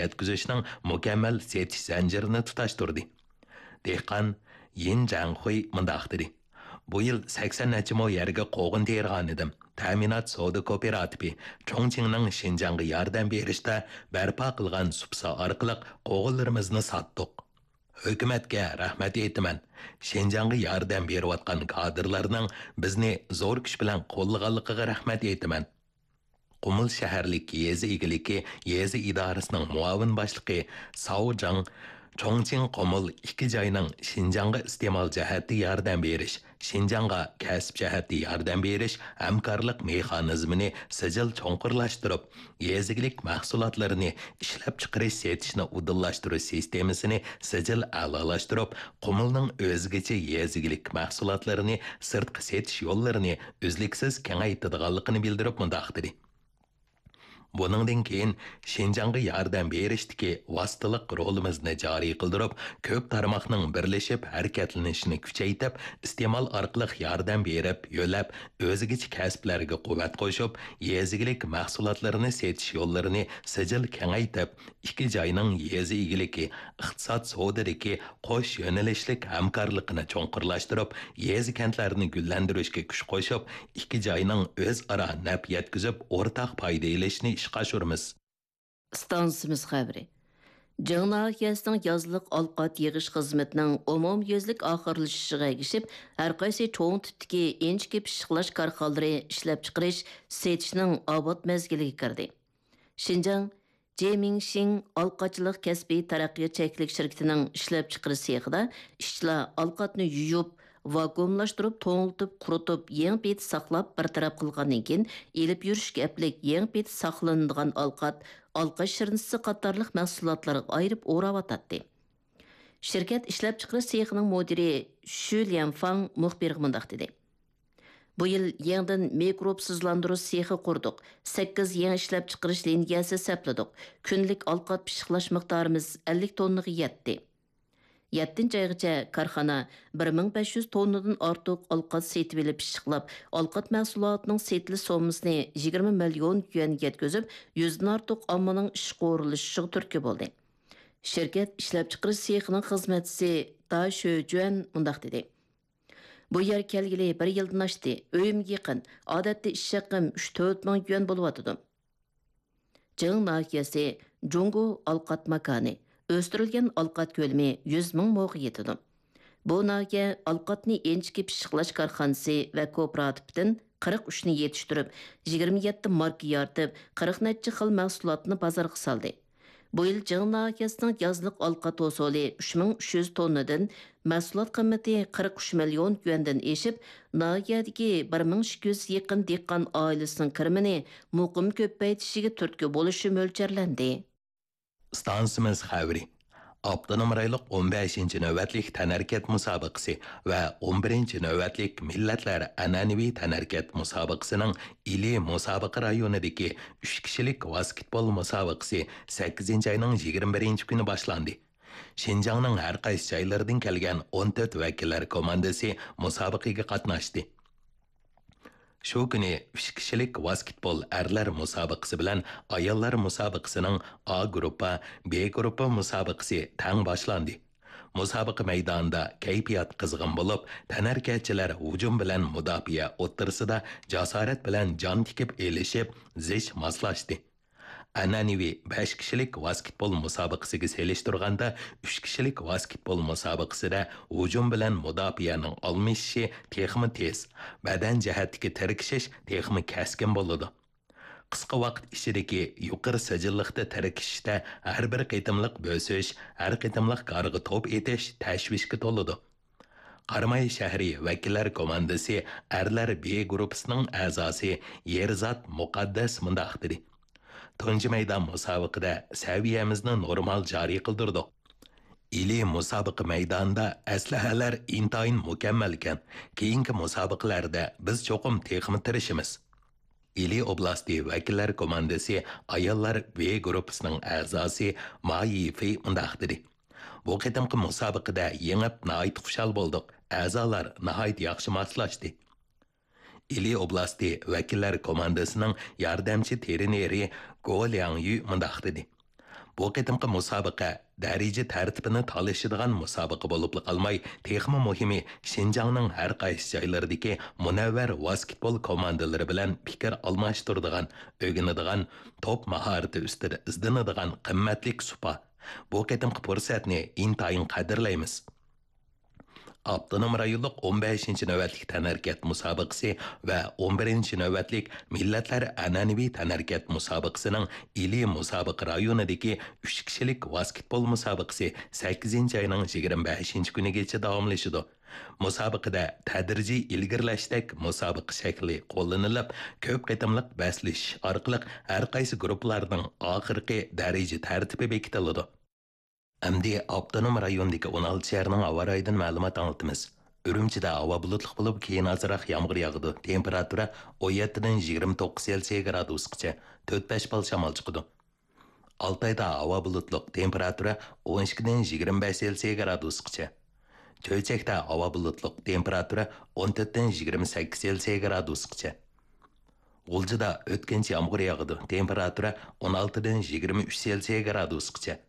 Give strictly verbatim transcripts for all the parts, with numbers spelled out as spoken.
يەتكۈزۈشنىڭ مۇكەممەل سېتىش زەنجىرىنى تۇتاشتۇردى. دېھقان يىن جاڭخۇي مۇنداق دېدى: بۇ يىل سەكسەن نەچچە مو يەرگە قوغۇن تېرىغانىدىم. تەمىنات سودا كوپىراتىپى چۇڭچىڭنىڭ شىنجاڭغا ياردەم بېرىشتە بەرپا قىلغان سۇپىسى ئارقىلىق قوغۇنلىرىمىزنى ساتتۇق. ھۆكۈمەتكە رەھمەت ئېيتىمەن. شىنجاڭغا ياردەم بېرىۋاتقان كادىرلارنىڭ بىزنى زور كۈچ بىلەن قوللىغانلىقىغا رەھمەت ئېيتىمەن. قۇمۇل شەھەرلىك يېزا ئىگىلىكى يېزا ئىدارىسىنىڭ مۇئاۋىن باشلىقى ساۋ جاڭ چۇڭچىڭ قۇمۇل ئىككى جاينىڭ شىنجاڭغا ئىستېمال جەھەتتە ياردەم بېرىش، شىنجاڭغا كەسىپ جەھەتتە ياردەم بېرىش ھەمكارلىق مېخانىزمىنى سىجىل چوڭقۇرلاشتۇرۇپ، يېزا ئىگىلىك مەھسۇلاتلىرىنى ئىشلەپچىقىرىش سېتىشنى ئۇدۇللاشتۇرۇش سىستېمىسىنى سىجىل ئەلالاشتۇرۇپ، قۇمۇلنىڭ ئۆزگىچە يېزا ئىگىلىك مەھسۇلاتلىرىنى سىرتقا سېتىش يوللىرىنى ئۈزلۈكسىز كېڭەيتىدىغانلىقىنى بىلدۈرۈپ مۇنداق دېدى: بۇنىڭدىن كېيىن شىنجاڭغا ياردەم بېرىشتىكى ۋاسىتىلىق رولىمىزنى جارى قىلدۇرۇپ، كۆپ تارماقنىڭ بىرلىشىپ ھەرىكەتلىنىشىنى كۈچەيتىپ، ئىستېمال ئارقىلىق ياردەم بېرىپ، يۆلەپ، ئۆزگىچە كەسىپلەرگە قۇۋۋەت قوشۇپ، يېزا ئىگىلىك مەھسۇلاتلىرىنى سېتىش يوللىرىنى سىجىل كېڭەيتىپ، ئىككى جاينىڭ يېزا ئىگىلىكى، ئىقتىساد سودىدىكى قوش يۆنىلىشلىك ھەمكارلىقىنى چوڭقۇرلاشتۇرۇپ، يېزا-كەنتلەرنى گۈللەندۈرۈشكە كۈچ قوشۇپ، ئىككى جاينىڭ ئۆزئارا نەپ يەتكۈزۈپ، ئورتاق پايدا ئېلىشىنى ئىشقا ئاشۇرىمىز. ئىستانسىمىز خەۋىرى. جىڭ ناھىيەسىنىڭ يازلىق ئالقات يىغىش خىزمىتىنىڭ ئومۇميۈزلۈك ئاخىرلىشىشىغا ئەگىشىپ، ھەرقايسى چوڭ تىپتىكى ئىنچىكە پىششىقلاش كارخانىلىرى ئىشلەپچىقىرىش، سېتىشنىڭ ئاۋات مەزگىلىگە كىردى. شىنجاڭ جېمىڭشىڭ ئالقاتچىلىق كەسپىي تەرەققىيات چەكلىك شىركىتىنىڭ ئىشلەپچىقىرىش سېخىدا ئىشچىلار ئالقاتنى يۇيۇپ، ۋاكۇئۇملاشتۇرۇپ، توڭلىتىپ، قۇرۇتۇپ، يېڭى پېتى ساقلاپ، بىر تەرەپ قىلغاندىن كېيىن، ئېلىپ يۈرۈشكە ئەپلىك يېڭى پېتى ساقلىنىدىغان ئالقات، ئالقات شىرنىسى قاتارلىق مەھسۇلاتلارغا ئايرىپ ئوراۋاتاتتى. شىركەت ئىشلەپچىقىرىش سېخىنىڭ مۇدىرى شۈ ليەنفاڭ مۇخبىرغا مۇنداق دېدى: بۇ يىل يېڭىدىن مىكروبسىزلاندۇرۇش سېخى قۇردۇق، سەككىز يېڭى ئىشلەپچىقىرىش لىنىيەسى سەپلىدۇق، كۈنلۈك ئالقات پىششىقلاش مىقدارىمىز ئەللىك توننىغا يەتتى. يەتتىنچى ئايغىچە كارخانا بىر مىڭ بەش يۈز توننىدىن ئارتۇق ئالقات سېتىۋېلىپ پىششىقلاپ، ئالقات مەھسۇلاتىنىڭ سېتىلىش سوممىسىنى يىگىرمە مىليون يۈەنگە يەتكۈزۈپ، يۈزدىن ئارتۇق ئاممىنىڭ ئىشقا ئورۇنلىشىشىغا تۈرتكە بولدى. شىركەت ئىشلەپچىقىرىش سېخىنىڭ خىزمەتچىسى دا شۆجۈەن مۇنداق دېدى: بۇ يەرگە كەلگىلى بىر يىلدىن ئاشتى. ئۆيۈمگە يېقىن. ئادەتتە ئىش ھەققىم ئۈچ تۆت مىڭ يۈەن بولۇۋاتىدۇ. جىڭ ناھىيەسى جۇڭگو ئالقات ماكانى. ئۆستۈرۈلگەن ئالقات كۆلىمى يۈز مىڭ موغا يېتىدۇ. بۇ ناھىيە ئالقاتنى ئىنچىكە پىششىقلاش كارخانىسى ۋە كوپىراتىپىدىن قىرىق ئۈچنى يېتىشتۈرۈپ، يىگىرمە يەتتە ماركا يارىتىپ، قىرىق نەچچە خىل مەھسۇلاتنى بازارغا سالدى. بۇ يىل جىڭ ناھىيەسىنىڭ يازلىق ئالقات ھوسۇلى ئۈچ مىڭ ئۈچ يۈز توننىدىن، مەھسۇلات قىممىتى قىرىق ئۈچ مىليون يۈەندىن ئېشىپ، ناھىيەدىكى بىر مىڭ ئىككى يۈز يېقىن دېھقان ئائىلىسىنىڭ كىرىمىنى مۇقىم كۆپەيتىشىگە تۈرتكە بولۇشى مۆلچەرلەندى. ئىستانسىمىز خەۋىرى. ئاپتونوم رايونلۇق ئون بەشىنچى نۆۋەتلىك تەنھەرىكەت مۇسابىقىسى ۋە ئون بىرىنچى نۆۋەتلىك مىللەتلەر ئەنئەنىۋى تەنھەرىكەت مۇسابىقىسىنىڭ ئىلى مۇسابىقە رايونىدىكى ئۈچ كىشىلىك ۋاسكېتبول مۇسابىقىسى سەككىزىنچى ئاينىڭ يىگىرمە بىرىنچى كۈنى باشلاندى. شىنجاڭنىڭ ھەر قايسى جايلىرىدىن كەلگەن ئون تۆت ۋەكىللەر كوماندىسى مۇسابىقىگە قاتناشتى. شۇ كۈنى ئۈچ كىشىلىك ۋاسكېتبول ئەرلەر مۇسابىقىسى بىلەن ئاياللار مۇسابىقىسىنىڭ ئا گۇرۇپپا، بې گۇرۇپپا مۇسابىقىسى تەڭ باشلاندى. مۇسابىقە مەيدانىدا كەيپىيات قىزغىن بولۇپ، تەنھەرىكەتچىلەر ھۇجۇم بىلەن مۇداپىئە ئوتتۇرىسىدا جاسارەت بىلەن جان تىكىپ ئېلىشىپ، زىچ ماسلاشتى. ئەنئەنىۋى بەش كىشىلىك ۋاسكېتبول مۇسابىقىسىگە سېلىشتۇرغاندا، ئۈچ كىشىلىك ۋاسكېتبول مۇسابىقىسىدە ھۇجۇم بىلەن مۇداپىئەنىڭ ئالمىشىشى تېخىمۇ تېز، بەدەن جەھەتتىكى تىركىشىش تېخىمۇ كەسكىن بولىدۇ. قىسقا ۋاقىت ئىچىدىكى يۇقىرى سىجىللىقتا تىركىشىشتە ھەر بىر قېتىملىق بۆسۈش، ھەر قېتىملىق گارغا توپ ئېتىش تەشۋىشكە تولىدۇ. قاراماي شەھىرى ۋەكىللەر كوماندىسى ئەرلەر بې گۇرۇپپىسىنىڭ ئەزاسى يېرزات مۇقەددەس مۇنداق دېدى: تۇنجى مەيدان مۇسابىقىدە سەۋىيەمىزنى نورمال جارى قىلدۇردۇق. ئىلى مۇسابىقە مەيدانىدا ئەسلىھەلەر ئىنتايىن مۇكەممەلكەن، كېيىنكى مۇسابىقىلەردە بىز چوقۇم تېخىمۇ تىرىشىمىز. ئىلى ئوبلاستى ۋەكىللەر كوماندىسى ئاياللار بې گۇرۇپپىسىنىڭ ئەزاسى ما يىفېي مۇنداق دېدى: بۇ قېتىمقى مۇسابىقىدە يېڭىپ ناھايىتى خۇشال بولدۇق، ئەزالار ناھايىتى ياخشى ماسلاشتى. ئىلى ئوبلاستى ۋەكىللەر كوماندىسىنىڭ ياردەمچى ترېنېرى گو لياڭيۈ مۇنداق دېدى: بۇ قېتىمقى مۇسابىقە دەرىجە تەرتىپىنى تالىشىدىغان مۇسابىقە بولۇپلا قالماي، تېخىمۇ مۇھىمى، شىنجاڭنىڭ ھەر قايسى جايلىرىدىكى مۇنەۋۋەر ۋاسكېتبول كوماندىلىرى بىلەن پىكىر ئالماشتۇرىدىغان، ئۆگىنىدىغان، توپ ماھارىتى ئۈستىدە ئىزدىنىدىغان قىممەتلىك سۇپا. بۇ قېتىمقى پۇرسەتنى ئىنتايىن قەدىرلەيمىز. ئاپتونوم رايونلۇق ئون بەشىنچى نۆۋەتلىك تەنھەرىكەت مۇسابىقىسى ۋە ئون بىرىنچى نۆۋەتلىك مىللەتلەر ئەنئەنىۋى تەنھەرىكەت مۇسابىقىسىنىڭ ئىلى مۇسابىقە رايونىدىكى ئۈچ كىشىلىك ۋاسكېتبول مۇسابىقىسى سەككىزىنچى ئاينىڭ يىگىرمە بەشىنچى كۈنىگىچە داۋاملىشىدۇ. مۇسابىقىدە تەدرىجىي ئىلگىرىلەشتەك مۇسابىقە شەكلى قوللىنىلىپ، كۆپ قېتىملىق بەسلىشىش ئارقىلىق ھەر قايسى گۇرۇپپىلارنىڭ ئاخىرقى دەرىجە تەرتىپى بېكىتىلىدۇ. ئەمدى ئاپتونوم رايوندىكى ئون ئالتە شەھەرنىڭ ھاۋا رايىدىن مەلۇمات ئاڭلىتىمىز. ئۈرۈمچىدە ھاۋا بۇلۇتلۇق بولۇپ، كېيىن ئازراق يامغۇر ياغىدۇ. تېمپېراتۇرا ئون يەتتىدىن يىگىرمە توققۇز سېلسىيە گرادۇسقىچە، تۆت بەش بال شامال چىقىدۇ. ئالتايدا ھاۋا بۇلۇتلۇق، تېمپېراتۇرا ئون ئىككىدىن يىگىرمە بەش سېلسىيە گرادۇسقىچە. چۆچەكتە ھاۋا بۇلۇتلۇق، تېمپېراتۇرا ئون تۆتتىن يىگىرمە سەككىز سېلسىيە گرادۇسقىچە. غۇلجىدا ئۆتكۈنچى يامغۇر ياغىدۇ، تېمپېراتۇرا ئون ئالتىدىن يىگىرمە ئۈچ سېلسىيە گرادۇسقىچە.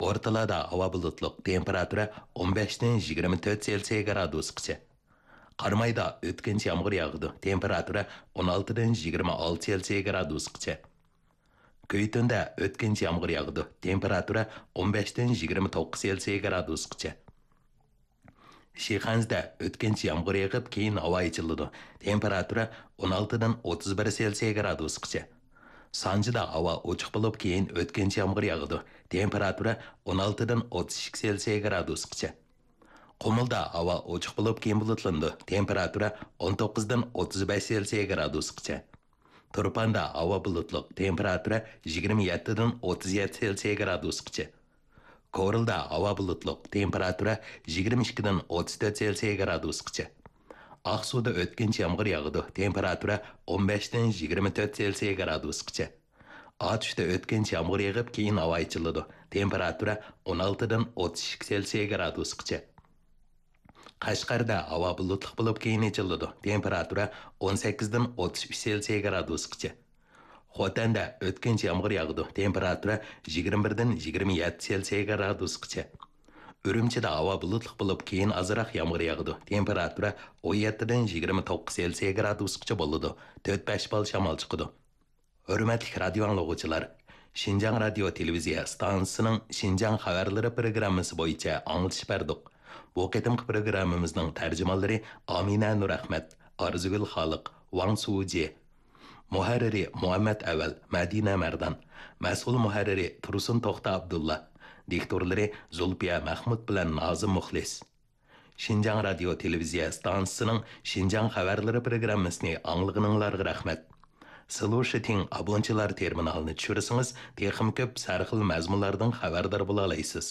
بورتالادا ھاۋا بۇلۇتلۇق، تېمپېراتۇرا ئون بەشتىن يىگىرمە تۆت سېلسىيە گرادۇسقىچە. قارامايدا ئۆتكۈنچى يامغۇر ياغىدۇ، تېمپېراتۇرا ئون ئالتىدىن يىگىرمە ئالتە سېلسىيە گرادۇسقىچە. كۈيتۈندە ئۆتكۈنچى يامغۇر ياغىدۇ، تېمپېراتۇرا ئون بەشتىن يىگىرمە توققۇز سېلسىيە گرادۇسقىچە. شىخەنزىدە ئۆتكۈنچى يامغۇر يېغىپ، كېيىن ھاۋا ئېچىلىدۇ. تېمپېراتۇرا ئون ئالتىدىن ئوتتۇز بىر سېلسىيە گرادۇسقىچە. سانجىدا ھاۋا ئوچۇق بولۇپ، كېيىن ئۆتكۈنچى يامغۇر ياغىدۇ. تېمپېراتۇرا ئون ئالتىدىن ئوتتۇز ئىككى سېلسىيە گرادۇسقىچە. قۇمۇلدا ھاۋا ئوچۇق بولۇپ، كېيىن بۇلۇتلىنىدۇ. تېمپېراتۇرا ئون توققۇزدىن ئوتتۇز بەش سېلسىيە گرادۇسقىچە. تۇرپاندا ھاۋا بۇلۇتلۇق، تېمپېراتۇرا يىگىرمە يەتتىدىن ئوتتۇز يەتتە سېلسىيە گرادۇسقىچە. كورلىدا ھاۋا بۇلۇتلۇق، تېمپېراتۇرا يىگىرمە ئىككىدىن ئوتتۇز تۆت سېلسىيە گرادۇسقىچە. ئاقسۇدا ئۆتكۈنچى يامغۇر ياغىدۇ، تېمپېراتۇرا ئون بەشتىن يىگىرمە تۆت سېلسىيە گرادۇسقىچە. ئاتۇشتا ئۆتكۈنچى يامغۇر يېغىپ، كېيىن ھاۋا ئېچىلىدۇ، تېمپېراتۇرا ئون ئالتىدىن ئوتتۇز ئىككى سېلسىيە گرادۇسقىچە. قەشقەردە ھاۋا بۇلۇتلۇق بولۇپ، كېيىن ئېچىلىدۇ، تېمپېراتۇرا ئون سەككىزدىن ئوتتۇز ئۈچ سېلسىيە گرادۇسقىچە. خوتەندە ئۆتكۈنچى يامغۇر ياغىدۇ، تېمپېراتۇرا يىگىرمە بىردىن يىگىرمە يەتتە سېلسىيە گرادۇسقىچە. ئۈرۈمچىدە ھاۋا بۇلۇتلۇق بولۇپ، كېيىن ئازراق يامغۇر ياغىدۇ، تېمپېراتۇرا ئون يەتتىدىن يىگىرمە توققۇز سېلسىيە گرادۇسقىچە بولىدۇ، تۆت بەش بال شامال چىقىدۇ. ھۆرمەتلىك رادىيو ئاڭلىغۇچىلار، شىنجاڭ رادىيو تېلېۋىزىيە ئىستانسىسىنىڭ شىنجاڭ خەۋەرلىرى پروگراممىسى بويىچە ئاڭلىتىش بەردۇق. بۇ قېتىمقى پروگراممىمىزنىڭ تەرجىمانلىرى ئامىنە نۇرئەخمەت، ئارزۇگۈل خالىق، ۋاڭ سۇجى. مۇھەررىرى مۇھەممەت ئەۋەل، مەدىنە مەردان. مەسئۇل مۇھەررىرى تۇرسۇن توختى ئابدۇللا. دىكتورلىرى زۇلپىيە مەخمۇت بىلەن نازىم مۇخلىس. شىنجاڭ رادىيو تېلېۋىزىيە ئىستانسىسىنىڭ شىنجاڭ خەۋەرلىرى پروگراممىسىنى ئاڭلىغىنىڭلارغا رەھمەت. سلۇشىتىڭ ئابونچىلار تېرمىنالىنى چۈشۈرسىڭىز، تېخىمۇ كۆپ سەرخىل مەزمۇنلاردىن خەۋەردار بولالايسىز.